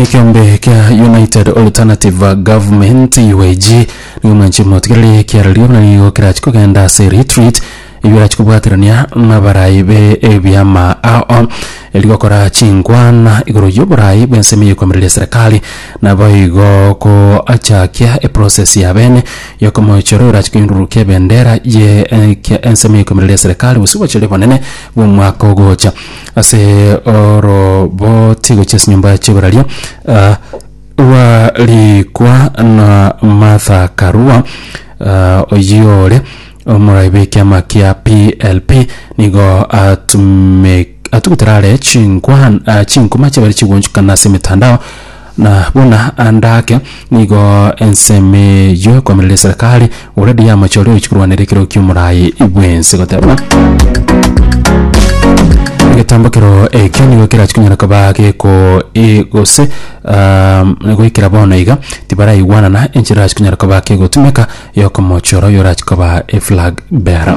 Ekeombe kia United Alternative Government, UAG, nigo mwanche motigererie ekiarerio buna nigo kerachi kogenda ase retreat eyio erachi kobwaterania nabarai be ebiama ao eri gokora chinkwana igoro y'oborai bw'ensemo y'ekomereria serikali naboigo koachakia eprocess ya bene yokomochora orachi koindurukia ebendera ye ensemo y'ekomereria serikali gose obochori obonene bw'omwaka ogocha. Ase oroboti gochia ase enyomba chi'oboraria ah, rwarikwa na Martha Karua ah, oyio ore omorai bw'ekiama kia PLP nigo atume atugutera are chinkwan ah, chinkuma chiabere chigonchukana ase emetandao Na buna ande ake, nigo ensemo eyio ekoamereria eserekari already yamachore ogochia korwanera ekero ki'omorai bw'ense goteba egetambokero ekio nigo kerachie konyara koba geko e gose goikera bono iga tibaraigwanana enchera erachie konyara koba kegotumeka yokomochora oyo orachie koba eflag bearer.